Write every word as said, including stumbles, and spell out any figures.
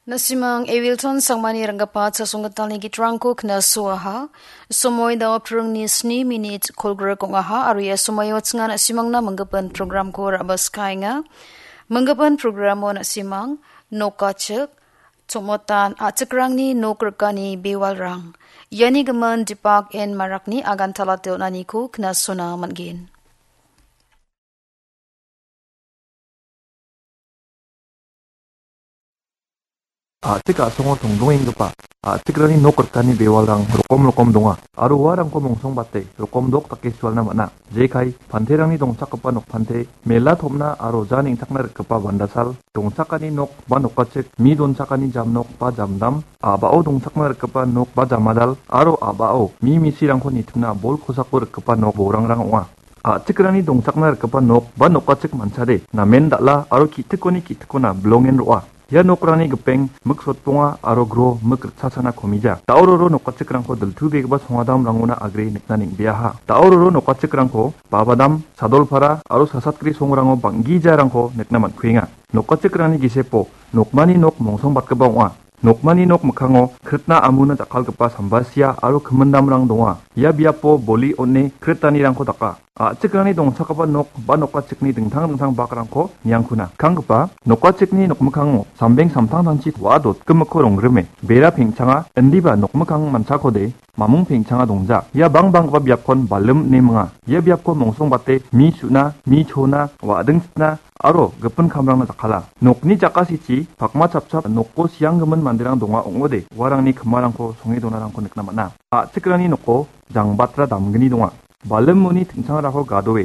Nasimang Evilton Sangmani ranggipa chasonggitalni gitrangko knasoaha. Somoi dao pringni sni minit kolgrik ong·aha, aro ia somoio chinga nasimangna minggipan programko ra·baskaenga. Minggipan programo nasimang nokachik, chongmotan a·chikrangni nok rikani bewalrang. Iani gimin Dipak N Marakni agantala on·aniko knasona man·gen. A·chik a·songo tongdongenggipa a·chikrangni nok rikani bewalrang rokom rokom donga, aro uarangko mongsongbate rokom dok dake sualna man·a. Jekai, panterangni dongchakgipa nokpante, mela tom·na aro ja neng·takna rikgipa bandasal, dongchakani nok ba nokachik, mi donchakani jamnok ba jamdam, a·bao dongchakna rikgipa nok ba jamadal, aro a·bao mi misirangko nitimna bol kosako rikgipa nok borangrang ong·a. A·chikrangni dongchakna rikgipa nok ba nokachik manchade namen dal·a aro ki·tikoni ki·tikona bilongen ro·a. Ia nokrangni gipeng mik sotponga aro gro mik ritsasana komija. Da·o roro nokachikrangko diltubegipa songadamrangona agre nikna neng·beaha. Da·o roro nokachikrangko Babadam, Sadolpara aro Sasatgri songrango bang·gijarangko nikna man·kuenga. Nokachikrangni gisepo nokmani nok mongsongbatgipa ong·a. Nokmani nok mikkango kritna amuna jakkalgipa sambasia aro kimindamrang donga. Ia biapo boli on·e kritanirangko daka. A·chikrangni dongchakgipa nok ba nokachikni dingtang dingtang bakrangko niangkuna. Kanggipa nokachikni nokmikkango sambeng samtangtangchi wa·a dotgimikko rongrime. Bera pengchanga indiba nokmikkang manchakode mamung pengchanga dongja. Ia bangbanggipa biapkon balim ine minga. Ia biapko mongsongbate mi su·na, mi chona, wa·dingsitna aro gipin kamrangna jakkala. Nokni jakasichi pakma chapchap nokko sianggimin manderang donga ong·ode, uarangni kimarangko songe donarangko nikna man·a. A·chikrangni noko jangbatra damgni donga. Balimoni tingchangrako gadoe.